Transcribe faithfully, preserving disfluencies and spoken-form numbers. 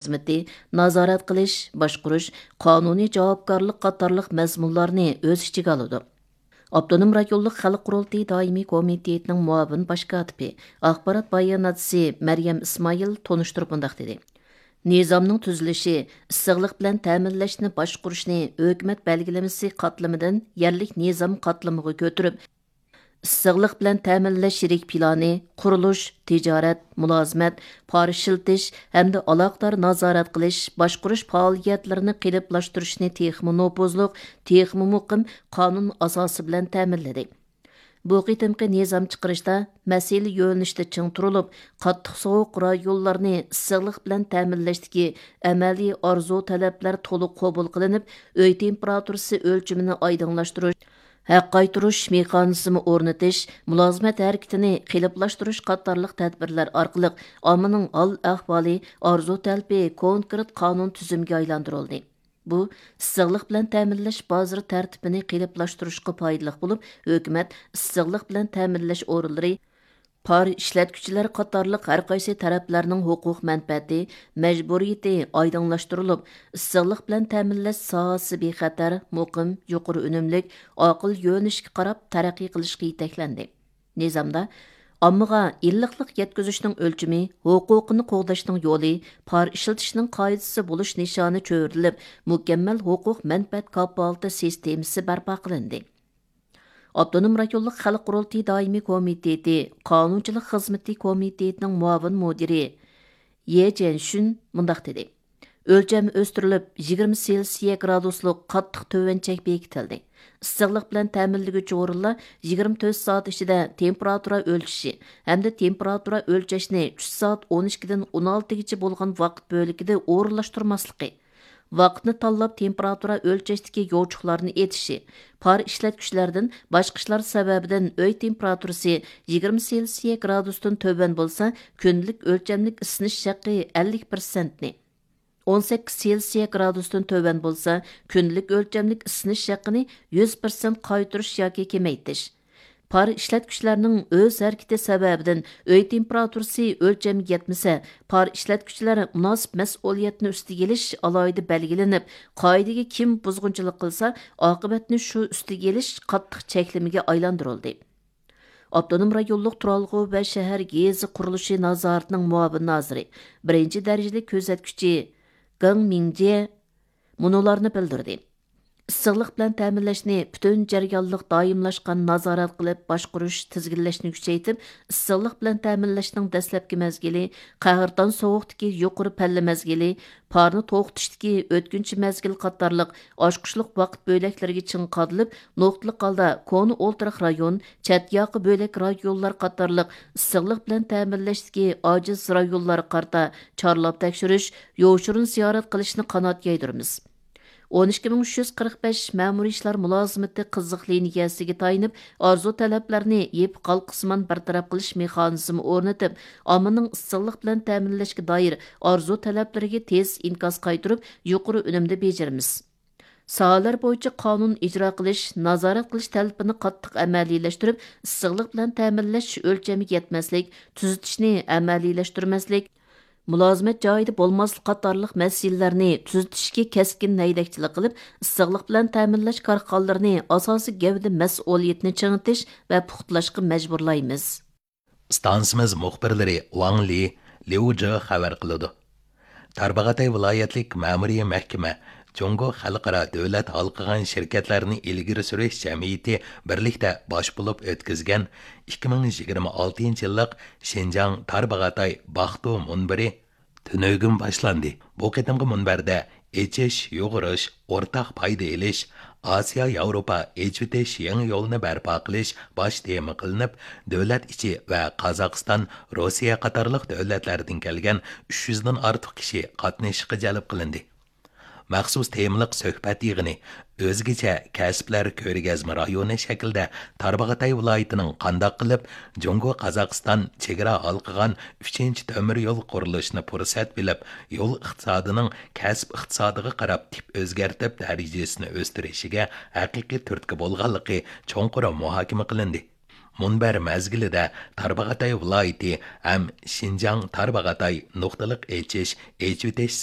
خىزمىتى، نازارەت قىلىش، باشقۇرۇش، قانۇنىي جاۋابكارلىق قاتارلىق مەزمۇنلارنى ئۆز ئىچىگە ئالىدۇ. ئاپتونوم رايونلۇق خەلق قۇرۇلتىيى دائىمىي كومىتېتىنىڭ مۇئاۋىن باش كاتىپى، ئاخبارات باياناتچىسى مەريەم ئىسمائىل تونۇشتۇرۇپ مۇنداق دېدى: نىزامنىڭ تۈزۈلۈشى، ئىسسىقلىق بىلەن تەمىنلەشنى باشقۇرۇشنى ھۆكۈمەت بەلگىلىمىسى قاتلىمىدىن يەرلىك نىزام قاتلىمىغا كۆتۈرۈپ، ئىسسىقلىق بىلەن تەمىنلەش يىرىك پىلانى، قۇرۇلۇش، تىجارەت، مۇلازىمەت، پار ئىشلىتىش ھەمدە ئالاقىدار نازارەت قىلىش، باشقۇرۇش پائالىيەتلىرىنى قېلىپلاشتۇرۇشنى تېخىمۇ نوپۇزلۇق، تېخىمۇ مۇقىم قانۇن ئاساسى بىلەن تەمىنلىدى. بۇ قېتىمقى نىزام چىقىرىشتا مەسىلە يۆنىلىشىدە چىڭ تۇرۇلۇپ، قاتتىق سوغۇق رايونلارنى ئىسسىقلىق بىلەن تەمىنلەشتىكى ئەمەلىي ئارزۇ تەلەپلەر تولۇق قوبۇل قىلىنىپ، ئۆي تېمپېراتۇرىسى ئۆلچىمىنى ئايدىڭلاشتۇرۇش، ھەق قايتۇرۇش مېخانىزمى ئورنىتىش، مۇلازىمەت ھەرىكىتىنى قېلىپلاشتۇرۇش قاتارلىق تەدبىرلەر ئارقىلىق ئاممىنىڭ ھال ئەھۋالى، ئارزۇ تەلىپى كونكرېت قانۇن تۈزۈمگە ئايلاندۇرۇلدى. بۇ ئىسسىقلىق بىلەن تەمىنلەش بازىرى تەرتىپىنى قېلىپلاشتۇرۇشقا پايدىلىق بولۇپ، ھۆكۈمەت ئىسسىقلىق بىلەن تەمىنلەش ئورۇنلىرى، پار ئىشلەتكۈچىلەر قاتارلىق ھەر قايسى تەرەپلەرنىڭ ھوقۇق مەنپەئەتى، مەجبۇرىيىتى ئايدىڭلاشتۇرۇلۇپ، ئىسسىقلىق بىلەن تەمىنلەش ساھەسى بىخەتەر، مۇقىم، يۇقىرى ئۈنۈملۈك، ئاقىل يۆنىلىشكە قاراپ تەرەققىي قىلىشقا يېتەكلەندى. نىزامدا ئاممىغا ئىللىقلىق يەتكۈزۈشنىڭ ئۆلچىمى، ھوقۇقىنى قوغداشنىڭ يولى، پار ئىشلىتىشنىڭ قائىدىسى بولۇش نىشانى چۆرىدىلىپ، مۇكەممەل ھوقۇق مەنپەئەت كاپالىتى سىستېمىسى بەرپا قىلىندى. ئاپتونوم رايونلۇق خەلق قۇرۇلتىيى دائىمىي كومىتېتى قانۇنچىلىق خىزمىتى كومىتېتىنىڭ مۇئاۋىن مۇدىرى يې جيەنشۈن مۇنداق دېدى: ئۆلچەم ئۆستۈرۈلۈپ، يىگىرمە سېلسىيە گرادۇسلۇق قاتتىق تۆۋەن چەك بېكىتىلدى. ئىسسىقلىق بىلەن تەمىنلىگۈچى ئورۇنلار يىگىرمە تۆت سائەت ئىچىدە تېمپېراتۇرا ئۆلچىشى ھەمدە تېمپېراتۇرا ئۆلچەشنى چۈش سائەت ئون ئىككىدىن ئون ئالتىگىچە بولغان ۋاقىت بۆلىكىدە ئورۇنلاشتۇرماسلىقى، ۋاقىتنى تاللاپ تېمپېراتۇرا ئۆلچەشتىكى يوچۇقلارنى ئېتىشى، پار ئىشلەتكۈچىلەردىن باشقا ئىشلار سەۋەبىدىن ئۆي تېمپېراتۇرىسى يىگىرمە سېلسىيە گرادۇستىن تۆۋەن بولسا، كۈندىلىك ئۆلچەملىك ئىسسىنىش ھەققى ئەللىك پىرسەنتنى، ئون سەككىز سېلسىيە گرادۇستىن تۆۋەن بولسا، كۈندىلىك ئۆلچەملىك ئىسسىنىش ھەققىنى يۈز پىرسەنت قايتۇرۇش ياكى كېمەيتىش، پار ئىشلەتكۈچىلەرنىڭ ئۆز ھەرىكىتى سەۋەبىدىن ئۆي تېمپېراتۇرىسى ئۆلچەمگە يەتمىسە، پار ئىشلەتكۈچىلەر مۇناسىپ مەسئۇلىيەتنى ئۈستىگە ئېلىش ئالاھىدە بەلگىلىنىپ، قائىدىگە كىم بۇزغۇنچىلىق قىلسا، ئاقىۋەتنى شۇ ئۈستىگە ئېلىش قاتتىق چەكلىمىگە ئايلاندۇرۇلدى. ئاپتونوم رايونلۇق تۇرالغۇ ۋە شەھەر گېزى قۇرۇلۇشى نازارىتىنىڭ مۇئاۋىن نازىرى، بىرىنچى دەرىجىلىك كۆزەتكۈچى گېڭ مىڭجيې مۇنۇلارنى بىلدۈردى: ئىسسىقلىق بىلەن تەمىنلەشنى پۈتۈن جەريانلىق دائىملاشقان نازارەت قىلىپ باشقۇرۇش، تىزگىنلەشنى كۈچەيتىپ، ئىسسىقلىق بىلەن تەمىنلەشنىڭ دەسلەپكى مەزگىلى، قەھرىتان سوغۇقتىكى يۇقىرى پەللە مەزگىلى، پارنى توختىتىشتىكى ئۆتكۈنچى مەزگىل قاتارلىق ئاچقۇچلۇق ۋاقىت بۆلەكلىرىگە چىڭ قادىلىپ، نۇقتىلىق ھالدا كونا ئولتۇراق رايون، چەت ياقا بۆلەك رايونلار قاتارلىق ئىسسىقلىق بىلەن تەمىنلەشتىكى ئاجىز رايونلارغا قارىتا چارلاپ تەكشۈرۈش، يوشۇرۇن زىيارەت قىلىشنى قانات يايدۇرىمىز. ئون ئىككى مىڭ ئۈچ يۈز قىرىق بەش مەمۇرىي ئىشلار مۇلازىمىتى قىزىق لىنىيەسىگە تايىنىپ، ئارزۇ تەلەپلەرنى يېپىق ھالقىسىمان بىر تەرەپ قىلىش مېخانىزمى ئورنىتىپ، ئاممىنىڭ ئىسسىقلىق بىلەن تەمىنلەشكە دائىر ئارزۇ تەلەپلىرىگە تېز ئىنكاس قايتۇرۇپ، يۇقىرى ئۈنۈمدە بېجىرىمىز. ساھەلەر بويىچە قانۇن ئىجرا قىلىش، نازارەت قىلىش تەلىپىنى قاتتىق ئەمەلىيلەشتۈرۈپ، ئىسسىقلىق بىلەن تەمىنلەش ئۆلچەمگە يەتمەسلىك، تۈزىتىشنى ئەمەلىيلەشتۈرمەسلىك، مۇلازىمەت جايىدا بولماسلىق قاتارلىق مەسىلىلەرنى تۈزىتىشكە كەسكىن ھەيدەكچىلىك قىلىپ، ئىسسىقلىق بىلەن تەمىنلەش كارخانىلىرىنى ئاساسىي گەۋدە مەسئۇلىيىتىنى چىڭىتىش ۋە پۇختىلاشقا مەجبۇرلايمىز. ئىستانسىمىز مۇخبىرلىرى ۋاڭ لى، ليۇ جې خەۋەر قىلىدۇ. تارباغاتاي ۋىلايەتلىك مەمۇرىي مەھكىمە جۇڭگو خەلقئارا دۆلەت ھالقىغان شىركەتلەرنى ئىلگىرى سۈرۈش جەمئىيىتى بىرلىكتە باش بولۇپ ئۆتكۈزگەن ئىككى مىڭ يىگىرمە ئالتىنچى يىللىق شىنجاڭ تارباغاتاي باختۇ مۇنبىرى تۈنۈگۈن باشلاندى. بۇ قېتىمقى مۇنبەردە ئېچىش، يۇغۇرۇش، ئورتاق پايدا ئېلىش، ئاسىيا ياۋروپا ئېچىۋېتىش يېڭى يولىنى بەرپا قىلىش باش تېما قىلىنىپ، دۆلەت ئىچى ۋە قازاقىستان، روسىيە قاتارلىق دۆلەتلەردىن كەلگەن ئۈچ يۈزدىن ئارتۇق كىشى قاتنىشىشقا جەلپ قىلىندى. مەخسۇس تېمىلىق سۆھبەت يىغىنى ئۆزگىچە كەسىپلەر كۆرگەزمە رايونى شەكلىدە تارباغاتاي ۋىلايىتىنىڭ قانداق قىلىپ جۇڭگو قازاقىستان چېگرا ھالقىغان ئۈچىنچى تۆمۈر يول قۇرۇلۇشىنى پۇرسەت بىلىپ، يول ئىقتىسادىنىڭ كەسىپ ئىقتىسادىغا قاراپ تىپ ئۆزگەرتىپ دەرىجىسىنى ئۆستۈرۈشىگە ھەقىقىي تۈرتكە بولغانلىقى چوڭقۇر مۇھاكىمە قىلىندى. مۇنبەر مەزگىلىدە تارباغاتاي ۋىلايىتى ھەم شىنجاڭ تارباغاتاي نۇقتىلىق ئېچىش، ئېچىۋېتىش